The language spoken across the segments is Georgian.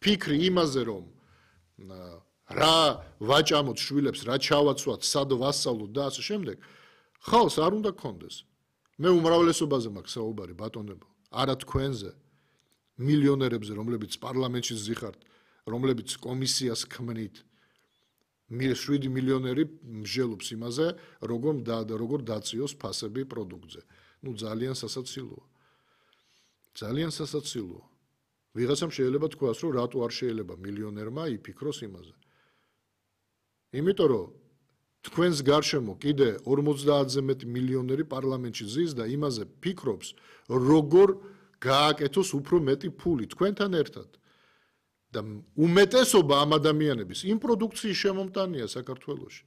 ფიქრი იმაზე რომ რა ვაჭამოთ შვილებს, რა ჩავაცვათ, სად ვასწავლოთ და ასე შემდეგ, ხალხს არ უნდა გქონდეს. მე უმრავლესობაზე მაქვს საუბარი ბატონებო, არა თქვენზე, მილიონერებზე, რომლებიც პარლამენტში ზიხართ, რომლებიც კომისიას ქმნით. 7 მილიონერი მსჯელობს იმაზე, როგორ დაწიოს ფასები პროდუქტზე. ნუ ძალიან სასაცილოა. ძალიან სასაცილოა. ვიღაცამ შეიძლება თქვას, რომ რატო არ შეიძლება მილიონერმა იფიქროს იმაზე. იმიტომ რომ თქვენს გარშემო კიდე 50-ზე მეტი მილიონერი პარლამენტში ზის და იმაზე ფიქრობს, როგორ გააკეთოს უფრო მეტი ფული თქვენთან ერთად. და უმეტესობა ამ ადამიანების იმ პროდუქციის შემომტანია საქართველოში.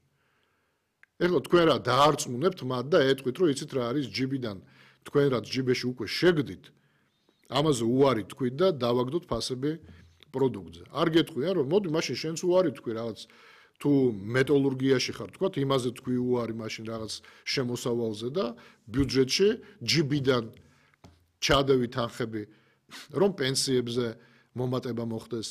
ეხლა თქვენ რა დაარწმუნებთ მათ და ეტყვით, რომ იცით რა არის ჯიბიდან, თქვენ რაც ჯიბეში უკვე შეგდით, ამაზე უარი თქვით და დავაგდოთ ფასები პროდუქტზე. არ გეტყვიან, რომ მოდი მაშინ შენც უარი თქვი რაღაც თუ მეტალურგიაში ხარ, თქვათ, იმაზე თქვი უარი მაშინ რაღაც შემოსავალზე და ბიუჯეტში ჯიბიდან ჩადევი თანხები, რომ პენსიებზე მომატება მოხდეს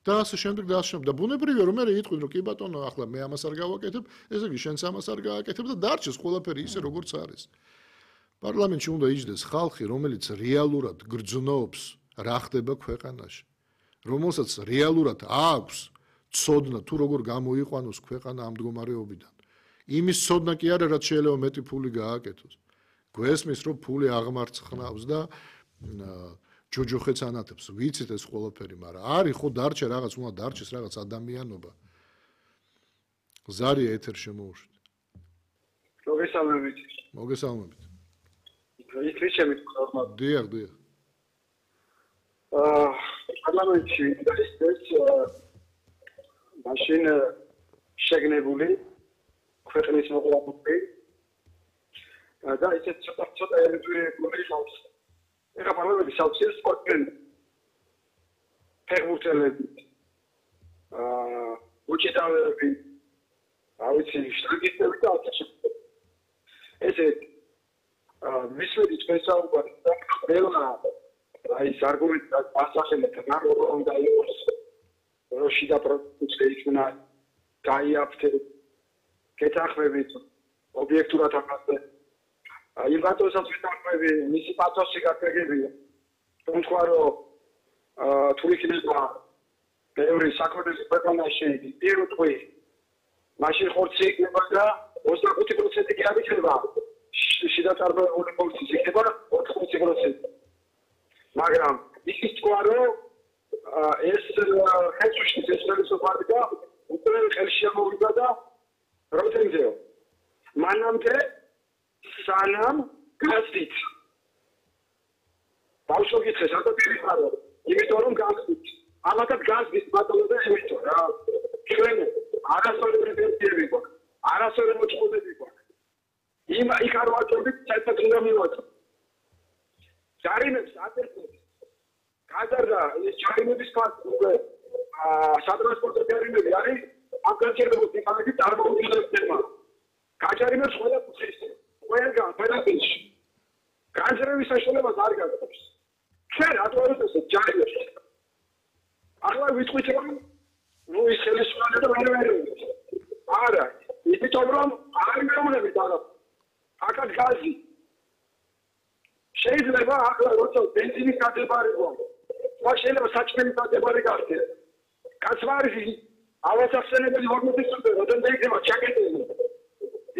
და ასე შემდეგ და ასე შემდეგ. და ბუნებრივია რომ მე იტყვი რომ კი ბატონო, ახლა მე ამას არ გავაკეთებ, ესე იგი შენც ამას არ გააკეთებ და დარჩეს ყველაფერი ისე როგორც არის. პარლამენტში უნდა იჯდეს ხალხი, რომელიც რეალურად გრძნობს რა ხდება ქვეყანაში. რომელსაც რეალურად აქვს ცოდნა თუ როგორ გამოიყვანოს ქვეყანა ამ მდგომარეობიდან. იმის ცოდნა კი არა, რაც შეიძლება მეტი ფული გააკეთოს. გვესმის რომ ფული აღმარცხნავს და ჯოჯოხეთს ანათებს, ვიცით ეს ყველაფერი, მაგრამ არის ხო დარჩა რაღაც, უნდა დარჩეს რაღაც ადამიანობა. ზარია ეთერ შემოუშვით. მოგესალმებით. მოგესალმებით. ის ჩემი ხალხმა. დიახ. პარლამენტში ეს მაშინ შეგნებული ქვეყნის მოყოლებული და ისეთ ცოტა ელემენტური ხალხს ეხლა პარლამენტი საოცრად სპორტენ ფეხბურთელები უჩიტავები ავიცი შტაგისტები და ესე მისვედი სპეციალურად ყველა აი არგუმენტი ასახელეთ რა უნდა იყოს როში და პროდუქცია იქნა გაიაფთე კეთახმებით ობიექტურად ამაზე აი ბატონსაც ვიტყვი მისი პათოსი გაგეგებია თუმცა რომ თუ იქნება ბევრი საკუთრების ქვეყანაში პირველ თვე მაშინ ხორცი იქნება და 25% კი არ იქნება შიდა წარმოებული ფუნქციის იქნება 80%. მაგრამ ის თქვა რომ ეს ხელშუშის ესპერესოპარი და უკვე ხელში ამოვიდა და პროტენზიო. მანამდე სანამ გასდით. ბავშვი გითხეს რატო პირიხარო? იმიტომ რომ გასდით. ამათად გასდით ბატონო და ემიტო რა. ჩვენ არასოდეს პენსიები გვაქვს. არასოდეს მოწყობები გვაქვს. იქ არ ვაჭრობთ საერთოდ უნდა მივაწყოთ. ჯარიმებს აკეთებს. გადარდა ეს ჯარიმების ფაქტი უკვე სატრანსპორტო ჯარიმები არის ამ განსაკუთრებით იქანები წარმოუდგენელმა. გაჯარიმებს ყველა კუთხეს. ყველგან ყველაფერში. განსაკუთრების საშუალებას არ გაქვს. ჩვენ რატო არ ვიწევთ ჯარიმებს? ახლა ვიტყვით რომ ნუ ის ხელისუფლება და ვერ არა. იმიტომ რომ არ მეუბნებით არა. აკად გაზი შეიძლება ახლა როცა ბენზინის გადებარი გვაქვს მაგ შეიძლება საჭმელი გადებარი გახდეს კაცვარში ავასახსენებელი ჰორმონები როდენმე იქნება ჩაკეტილი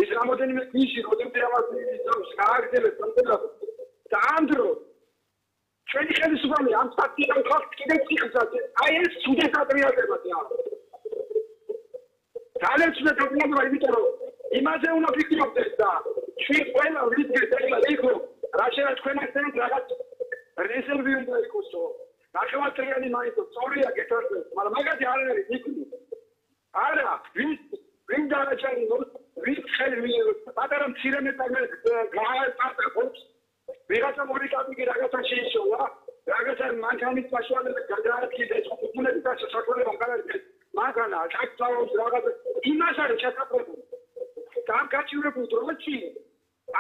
ის რამოდენიმე ნიში როდენმე ამას ის გააგრძელებს სამწუხაროდ და ამ დროს ჩვენი ხელისუფლება ამ სტატიიდან ხალხს კიდევ ციხესაც აი ეს ცუდად ატრიალდებოდა ძალიან ცუდად ატრიალდება იმიტომ რომ იმაზე უნდა ფიქრობდეს და ჩვენ ყველა ვიდგეთ ახლა იქო რა შეიძლება თქვენ ახლა რაღაც რეზერვი უნდა იყოსო ნახევარწრიანი მაინც სწორია გეთვალეთ მაგრამ მაგათი არ არის იქნი არა ვინ დააჭარი ვინ ხელი პატარა მცირე მეტალზე გააწყობს ვიღაცა მორიკაპი რაღაცა შეიშოვა რაღაცა მანქანის საშუალება გადააკეთეს უყურები და საშუალება განაცხადეს მანქანა აკცაობს რაღაცა იმას არის ჩატარებული ამ გაჩივრებულ დროში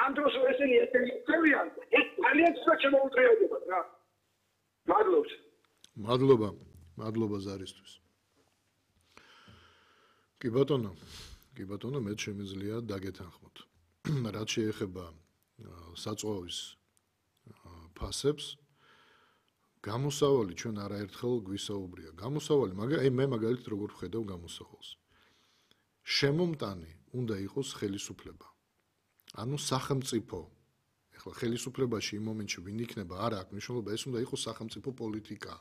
ამ დროს ესენი ესენიძალიან ეს ძალიან ცოტა შემოუტრიალდება რა მადლობა მადლობა ზარისთვის. კი ბატონო, მე შემიძლია დაგეთანხმოთ. რაც შეეხება საწვავის ფასებს, გამოსავალი ჩვენ არაერთხელ გვისაუბრია. გამოსავალი, მაგრამ მე მაგალითად როგორ ვხედავ გამოსავალს. შემომტანი უნდა იყოს ხელისუფლება. ანუ სახელმწიფო. ეხლა ხელისუფლებაში იმ მომენტში ვინ იქნება, არა აქვს მნიშვნელობა, ეს უნდა იყოს სახელმწიფო პოლიტიკა.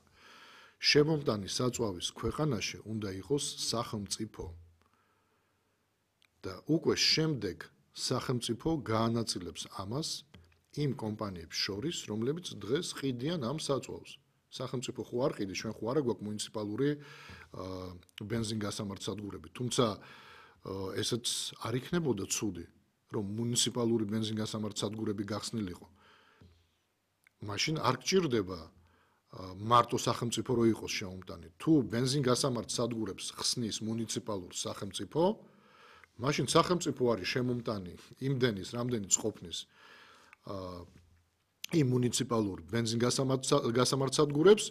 შემომტანი საწვავის ქვეყანაში უნდა იყოს სახელმწიფო. და უკვე შემდეგ სახელმწიფო გაანაწილებს ამას იმ კომპანიებს შორის, რომლებიც დღეს ყიდიან ამ საწვავს. სახელმწიფო ხო არ ყიდის, ჩვენ ხო არა გვაქვს მუნიციპალური ბენზინგასამართსადგურები, თუმცა ესეც არ იქნებოდა ცუდი, რომ მუნიციპალური ბენზინგასამართსადგურები გახსნილიყო. მაშინ არ გჭირდება მარტო სახელმწიფო რო იყოს შემომტანი. თუ ბენზინგასამართსადგურებს ხსნის მუნიციპალურ სახელმწიფო, მაშინ სახელმწიფო არის შემომტანი იმდენის, რამდენიც ყოფნის იმ მუნიციპალურ ბენზინგასამართსადგურებს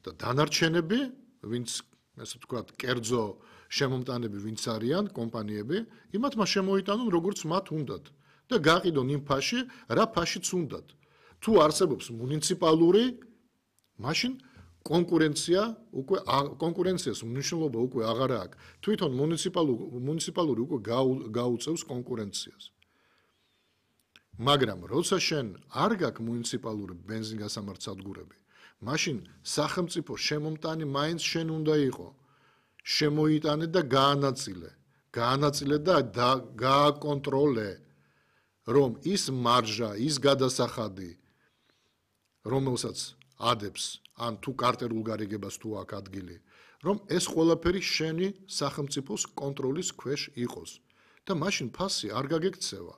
და დანარჩენები, ვინც ესე ვთქვათ, კერძო შემომტანები ვინც არიან, კომპანიები, იმათ მას შემოიტანონ როგორც მათ უნდათ და გაყიდონ იმ ფაში, რა ფაშიც უნდათ. თუ არსებობს მუნიციპალური, მაშინ კონკურენციას მნიშვნელობა უკვე აღარ აქვს. თვითონ მუნიციპალური უკვე გაუწევს კონკურენციას. მაგრამ როცა შენ არ გაქვს მუნიციპალური ბენზინგასამართსადგურები, მაშინ სახელმწიფო შემომტანი მაინც შენ უნდა იყო. შემოიტანე და გაანაწილე და გააკონტროლე, რომ ის მარჟა, ის გადასახადი, რომელსაც ადებს ან თუ კარტერულ გარიგებას თუ აქვს ადგილი, რომ ეს ყველაფერი შენი სახელმწიფოს კონტროლის ქვეშ იყოს და მაშინ ფასი არ გაგექცევა.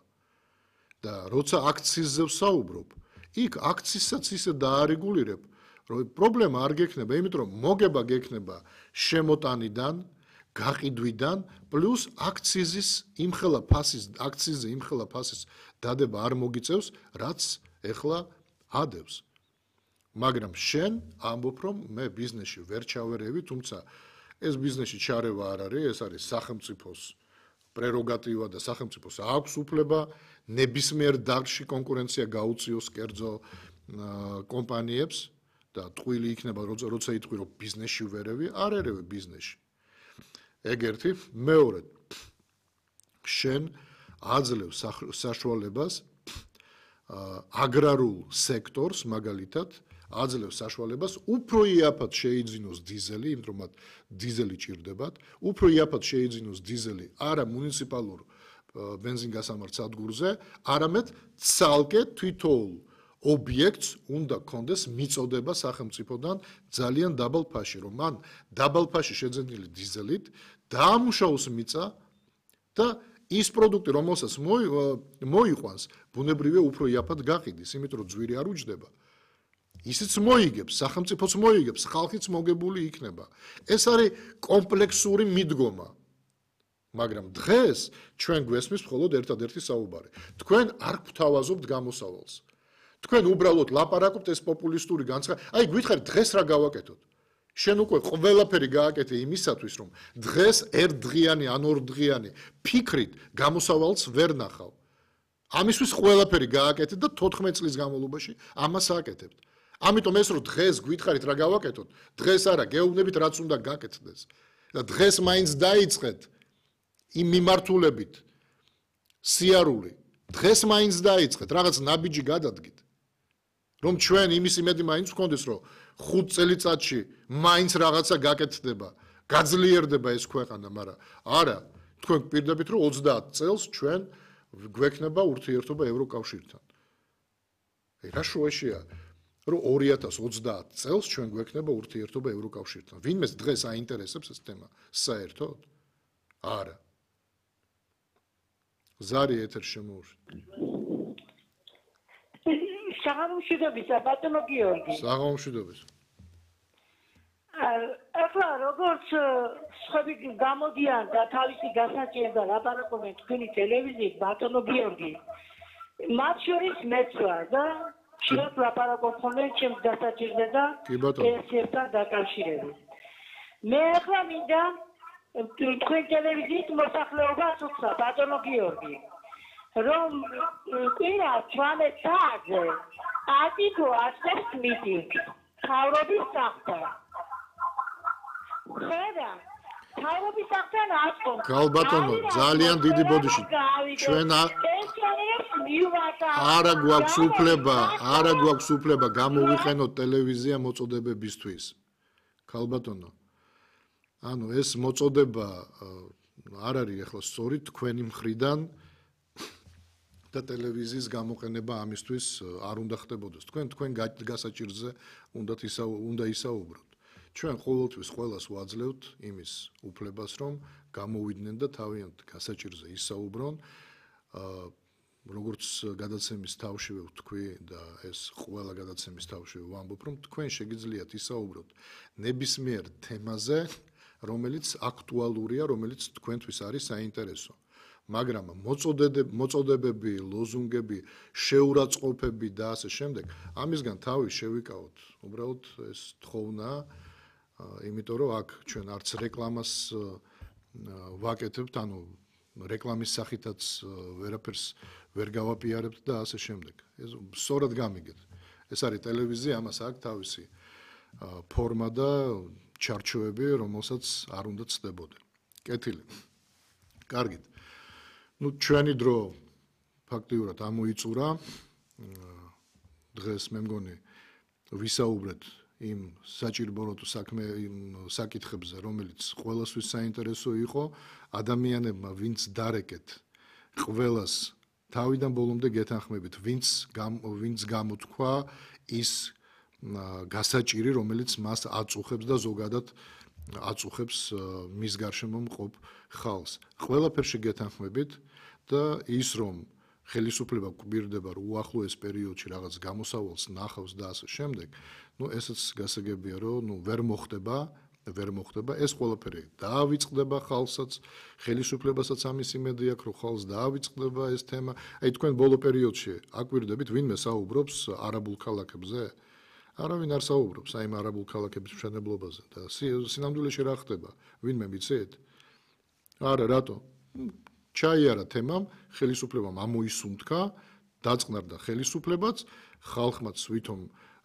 და როცა აქციზზე ვსაუბრობ, იქ აქციზსაც ისე დაარეგულირებ, რომ პრობლემა არ გექნება, იმიტომ რომ მოგება გექნება შემოტანიდან, გაყიდვიდან, პლუს აქციზის იმხელა ფასის დადება არ მოგიწევს, რაც ეხლა ადევს. მაგრამ შენ ამბობ, რომ მე ბიზნესში ვერ ჩავერევი, თუმცა ეს ბიზნესში ჩარევა არ არის, ეს არის სახელმწიფოს პრეროგატივა და სახელმწიფოს აქვს უფლება ნებისმიერ დარგში კონკურენცია გაუწიოს კერძო კომპანიებს და ტყვილი იქნება, როცა იტყვი, რომ ბიზნესში ვერევი, არ ერევი ბიზნესში. ეგ ერთი, მეორე, შენ აძლევ საშუალებას აგრარულ სექტორს, მაგალითად, აძლევს საშუალებას უფრო იაფად შეიძინოს დიზელი, იმიტომ რომ მათ დიზელი ჭირდებათ, უფრო იაფად შეიძინოს დიზელი არა მუნიციპალურ ბენზინგასამართსადგურზე, არამედ ცალკე თვითოულ ობიექტს უნდა კონდეს მიწოდება სახელმწიფოდან ძალიან დაბალ ფაში, რომ მან დაბალ ფაში შეძენილი დიზელით დაამუშავოს მიწა და ის პროდუქტი, რომელსაც მოიყვანს, ბუნებრივია უფრო იაფად გაყიდის, იმიტომ რომ ძვირი არ უჯდება. ისიც მოიგებს, სახელმწიფოც მოიგებს, ხალხიც მოგებული იქნება. ეს არის კომპლექსური მიდგომა. მაგრამ დღეს ჩვენ გვესმის მხოლოდ ერთადერთი საუბარი. თქვენ არ გვთავაზობთ გამოსავალს. თქვენ უბრალოდ ლაპარაკობთ ეს პოპულისტური განცხადება. აი, გითხარით, დღეს რა გავაკეთოთ? შენ უკვე ყველაფერი გააკეთე იმისათვის, რომ დღეს ერთდღიანი ან ორდღიანი ფიქრით გამოსავალს ვერ ნახავ. ამისთვის ყველაფერი გააკეთე და 14 წლის განმავლობაში ამას აკეთებთ. ამიტომ ეს რომ დღეს გითხარით რა გავაკეთოთ, დღეს არა, გეუბნებით რაც უნდა გაკეთდეს. და დღეს მაინც დაიწყეთ იმ მიმართულებით სიარული. დღეს მაინც დაიწყეთ, რაღაც ნაბიჯი გადადგით. რომ ჩვენ იმის იმედი მაინც ვქონდეს, რომ 5 წელიწადში მაინც რაღაცა გაკეთდება, გაძლიერდება ეს ქვეყანა, მაგრამ არა, თქვენ პირდებით რომ 30 წელს ჩვენ გვექნება ურთიერთობა ევროკავშირთან. რა შუაშია? რომ 2030 წელს ჩვენ გვექნება ურთიერთობა ევროკავშირთან. ვინმეს დღეს აინტერესებს ეს თემა საერთოდ? არა. ზარი ეთერში შემოუშვით. საღამოშვიდობის, ბატონო გიორგი. საღამოშვიდობის. ახლა როგორც სხვები გამოდიან და თავისი გასაჭირს და ლაპარაკობენ თქვენი ტელევიზიით, ბატონო გიორგი, მათ შორის მეც ვარ და შეიძლება ლაპარაკობ ხოლმე ჩემს გასაჭირზე და ეს ერთად დაკავშირებით. მე ახლა მინდა თქვენ ტელევიზიის მოსახლეობას უცხო ბატონო გიორგი რომ კვირა 18 საათზე ატიკო ასწრებს მიტინგს თავრობის სახლთან ხედა თავრობის სახლთან ასწრებს ქალბატონო ძალიან დიდი ბოდიში ჩვენ არა გვაქვს უფლება გამოვიყენოთ ტელევიზია მოწოდებებისთვის ქალბატონო ანუ ეს მოწოდება არ არის ახლა სწორი თქვენი მხრიდან და ტელევიზიის გამოყენება ამისთვის არ უნდა ხდებოდეს თქვენ გასაჭირზე უნდა ისაუბროთ ჩვენ ყოველთვის ყველას ვაძლევთ იმის უფლებას რომ გამოვიდნენ და თავიანთ გასაჭირზე ისაუბრონ როგორც გადაცემის თავშივე ვთქვი და ეს ყველა გადაცემის თავშივე ვამბობ რომ თქვენ შეგიძლიათ ისაუბროთ ნებისმიერ თემაზე რომელიც აქტუალურია რომელიც თქვენთვის არის საინტერესო მაგრამ მოწოდებები, ლოზუნგები, შეურაცხყოფები და ასე შემდეგ, ამისგან თავი შევიკავოთ. უბრალოდ ეს თხოვნა, იმიტომ რომ აქ ჩვენ არც რეკლამას ვაკეთებთ, ანუ რეკლამის სახითაც ვერაფერს ვერ გავაპიარებთ და ასე შემდეგ. ეს სწორად გამიგეთ. ეს არის ტელევიზია, ამას აქვს თავისი ფორმა და ჩარჩოები, რომელსაც არ უნდა ცდებოდე. კეთილი. კარგით. ჩვენი დრო ფაქტიურად ამოიწურა დღეს მე მგონი ვისაუბრეთ იმ საჭირბოროტო საკითხებზე რომელიც ყველასთვის საინტერესო იყო ადამიანებმა ვინც დარეკეთ ყველას თავიდან ბოლომდე გეთანხმებით ვინც გამოთქვა ის გასაჭირი რომელიც მას აწუხებს და ზოგადად აწუხებს მის გარშემო მყოფ ხალხს ყველაფერში გეთანხმებით და ის რომ ხელისუფლება გვირდება რომ უახლოეს პერიოდში რაღაც გამოსავალს ნახავს და ასე შემდეგ, ესეც გასაგებია რომ ვერ მოხდება ეს ყველაფერი დაავიწყდება ხალხსაც, ხელისუფლებასაც ამის იმედი აქვს რომ ხალხს დაავიწყდება ეს თემა. აი თქვენ ბოლო პერიოდში აკვირდებით ვინმე საუბრობს არაბულ ქალაქებზე? არავინ არ საუბრობს აი ამ არაბულ ქალაქების მშენებლობაზე და სინამდვილეში რა ხდება? ვინმე მიცეთ? არა, რატო? ჩაიარა თემამ, ხელისუფლებამ ამოისუნთქა, დაწყნარდა ხელისუფლებაც, ხალხმაც ვითომ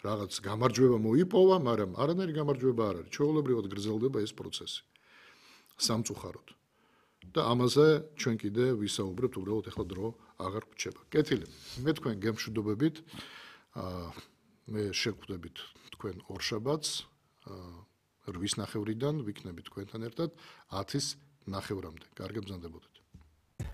რაღაც გამარჯვება მოიპოვა, მაგრამ არანაირი გამარჯვება არ არის. ჩვეულებრივად გრძელდება ეს პროცესი. სამწუხაროდ. და ამაზე ჩვენ კიდე ვისაუბრებთ, უბრალოდ ახლა დრო აღარ გვჭება. კეთილი. მე თქვენ გემშვიდობებით. მე შეგხვდებით თქვენ ორშაბათს 8:30-დან ვიქნებით თქვენთან ერთად 10:30-მდე. კარგად ბრძანდებოდეთ.